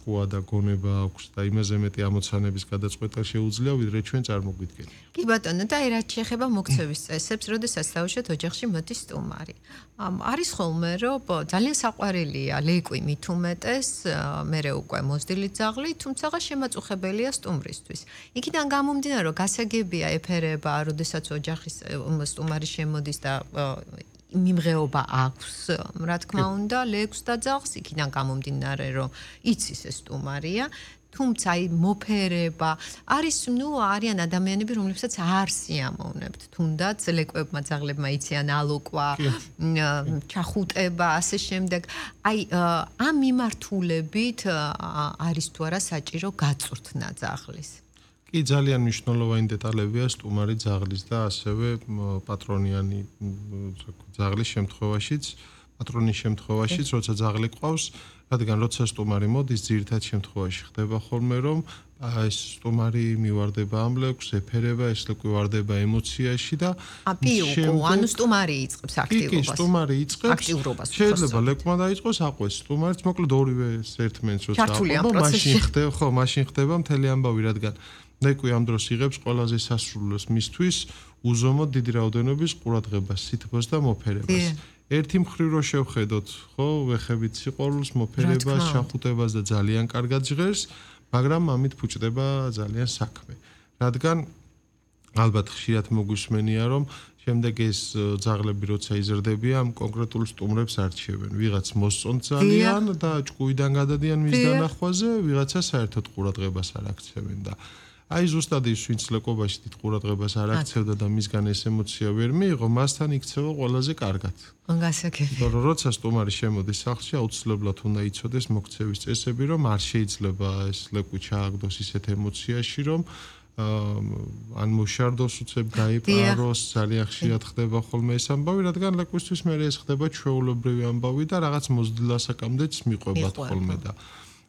პასუხოა და გონება აქვს და იმაზე მეტი ამოცანების გადაწყვეტა შეუძლია, ვიდრე ჩვენ წარმოგვიდგენთ. კი ბატონო, და აი რაც შეეხება მოქცევის წესებს, როდესაც დავუშვათ ოჯახში მოდის სტუმარი. არის ხოლმე, რომ ძალიან საყვარელია ლეკვი მით უმეტეს, მერე უკვე მოზრდილი ძაღლი, თუმცა შემაწუხებელია სტუმრისთვის. იქიდან გამომდინარე, რომ გასაგებია ეფერება, როდესაც ოჯახის სტუმარი შემოდის და მიმღეობა აქვს, რა თქმა უნდა, ლეკვს და ძაღლს, იქიდან გამომდინარე, რომ იცის ეს სტუმარია. თუმცა აი მოფერება არიან ადამიანები, რომლებსაც არ სიამოვნებთ, თუნდაც ლეკვებმა ძაღლებმა იციან ალოკვა, ჩახუტება, ასე შემდეგ. აი ამ მიმართულებით არის თუ არა საჭირო გაწვრთნა ძაღლის? კი, ძალიან მნიშვნელოვანი დეტალებია სტუმარი ძაღლის და ასევე პატრონიანი ძაღლის შემთხვევაშიც, პატრონის შემთხვევაშიც, როცა ძაღლი ყავს, რადგან როცა სტუმარი მოდის, ძირითად შემთხვევაში ხდება ხოლმე, რომ ეს სტუმარი მივარდება ამ ლეკვს, ეფერება, ეს ლეკვი ვარდება ემოციაში და ანუ სტუმარი იწყებს აქტიურობას. კი, სტუმარი იწყებს აქტიურობას. შეიძლება ლეკვმა დაიწყოს, აყვეს სტუმარიც, მოკლედ ორივე ერთმანეთს როცა აყვება, მაშინ ხდება მთელი ამბავი, რადგან ლეკვი ამ დროს იღებს ყველაზე სასურველს მისთვის უზომოდ დიდი რაოდენობის ყურადღებას, სითბოს და მოფერებას. ერთი მხრივ რო შევხედოთ, ხო, ვეხებით სიყვარულს, მოფერებას, ჩახუტებას და ძალიან კარგად ჟღერს, მაგრამ ამით ფუჭდება ძალიან საქმე. რადგან ალბათ ხშირად მოგვისმენია, რომ შემდეგ ეს ძაღლები როცა იზრდებიან, კონკრეტულ სტუმრებს არჩევენ. ვიღაც მოსწონთ ძალიან და ჭკუიდან გადადიან მის დანახვაზე, ვიღაცა საერთოდ ყურადღებას არ აქცევენ და აი ზუსტად ის ვინც ლეკვობაში დიდ ყურადღებას არ აქცევდა და მისგან ეს ემოცია ვერ მიიღო, მასთან იქცევა ყველაზე კარგად. გასაგებია. იმიტომ რომ როცა სტუმარი შემოდის სახლში, აუცილებლად უნდა იცოდეს მოქცევის წესები, რომ არ შეიძლება ეს ლეკვი ჩააგდოს ისეთ ემოციაში, რომ ან მოშარდოს უცებ გაიპაროს, ძალიან ხშირად ხდება ხოლმე ეს ამბავი, რადგან ლეკვისთვის მე ეს ხდება ჩვეულებრივი ამბავი და რაღაც მოზრდილასაკამდეც მიყვებათ ხოლმე და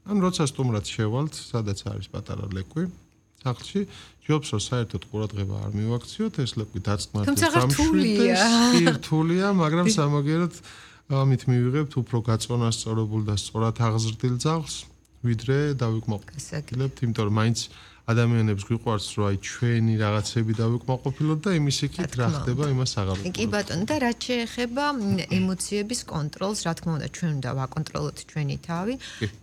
ან როცა სტუმრად შევალთ, სადაც არის პატარა ლეკვი სახლში, ჯობს რომ საერთოდ ყურადღება არ მივაქციოთ, ეს ლეკვი დაწყნარდეს სამშვიდდეს, კი რთულია, მაგრამ სამაგერად ამით მივიღებთ უფრო გაწონასწორებულ და სწორად აღზრდილ ძაღლს, ვიდრე დავიკმაყოფილებთ, იმიტომ რომ მაინც ადამიანებს გვიყვარს, რომ აი ჩვენი რაღაცები დავიკმაყოფილოთ და იმის იქით რა ხდება, იმას აღარ ვუყურებთ. კი ბატონო, და რაც შეეხება ემოციების კონტროლს, რა თქმა უნდა, ჩვენ უნდა ვაკონტროლოთ ჩვენი თავი,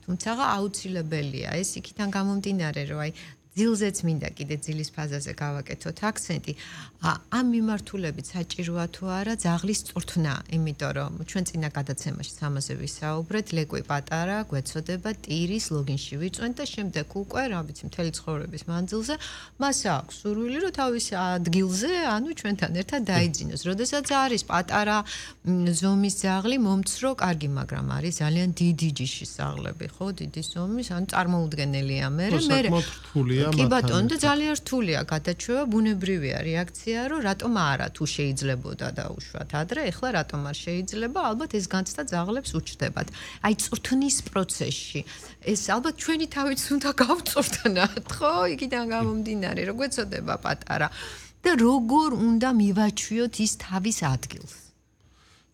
თუმცა აუცილებელია ეს იქიდან გამომდინარე, რომ აი ძილზეც მინდა კიდე ძილის ფაზაზე გავაკეთოთ აქცენტი. ამ მიმართულებით საჭიროა თუ არა ძაღლის წვრთნა, იმიტომ რომ ჩვენ წინა გადაცემაში ამაზე ვისაუბრეთ, ლეკვი პატარა, გვეცოდება ტირის ლოგინში ვიწვენთ და შემდეგ უკვე, რა ვიცი, მთელი ცხოვრების მანძილზე მას აქვს სურვილი, რომ თავის ადგილზე, ანუ ჩვენთან ერთად დაიძინოს. როდესაც არის პატარა ზომის ძაღლი, მომცრო, კარგი, მაგრამ არის ძალიან დიდი ჯიშის ძაღლები, ხო, დიდი ზომის, ანუ წარმოუდგენელია მე. კი ბატონო, და ძალიან რთულია გადაჩვევა, ბუნებრივია რეაქცია, რომ რატომ არა, თუ შეიძლებოდა დაუშვათ ადრე, ეხლა რატომ არ შეიძლება, ალბათ ეს განცდა ძაღლებს უჩნდებათ. აი წვრთნის პროცესში ეს ალბათ ჩვენი თავიც უნდა გავწვრთნათ, ხო? იქიდან გამომდინარე, რომ გვეცოდება პატარა და როგორ უნდა მივაჩვიოთ ის თავის ადგილს?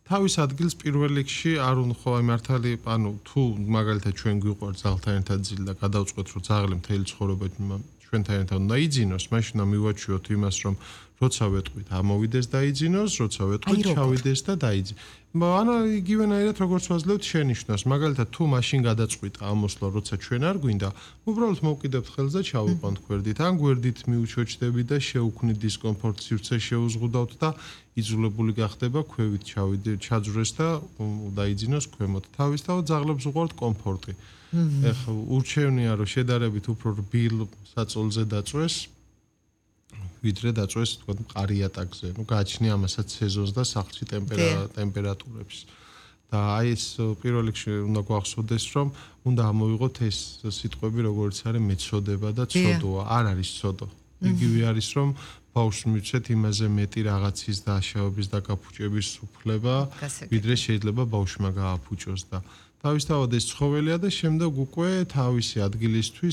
თავის ადგილს პირველ რიგში არ უნდა ხო აი მართალი, ანუ თუ მაგალითად ჩვენ გვიყვართ ძაღლთან ერთად ძილი და გადავწყვეტ, რომ ძაღლი მთელი ცხოვრება ჩვენთან ერთად უნდა იძინოს, მაშინ უნდა მივაჩვიოთ იმას, რომ როცა ვეტყვით, ამოვიდეს და იძინოს, როცა ვეტყვით, ჩავიდეს და დაიძინოს. ანუ იგივენაირად როგორც ვაძლევთ შენიშვნას, მაგალითად თუ მაშინ გადაწყვიტა ამოსვლა, როცა ჩვენ არ გვინდა, უბრალოდ მოვკიდებთ ხელს და ჩავიყვანთ გვერდით, ან გვერდით მივუჩოჩდებით და შევუქმნით დისკომფორტს, სივრცე შეუზღუდავთ და იძულებული გახდება ქვევით ჩაძვრეს და დაიძინოს ქვემოთ. თავისთავად ძაღლებს უყვართ კომფორტი. ეხლა ურჩევნია რომ შედარებით უფრო რბილ საწოლზე დაწვეს, ვიდრე დაწვეს თქვა მყარი იატაკზე. ნუ გააჩნია ამასაც სეზონს და სახლში ტემპერატურებს. და აი ეს პირველ რიგში უნდა გვახსოვდეს, რომ უნდა ამოვიღოთ ეს სიტყვები, როგორც არის მეცოდება და ცოდოა. არ არის ცოდო. იგივე არის, რომ ბავშვს მივცეთ იმაზე მეტი რაღაცის დაშავების და გაფუჭების უფლება, ვიდრე შეიძლება ბავშვმა გააფუჭოს და თავისთავად ეს ცხოველია და შემდეგ უკვე თავისი ადგილისთვის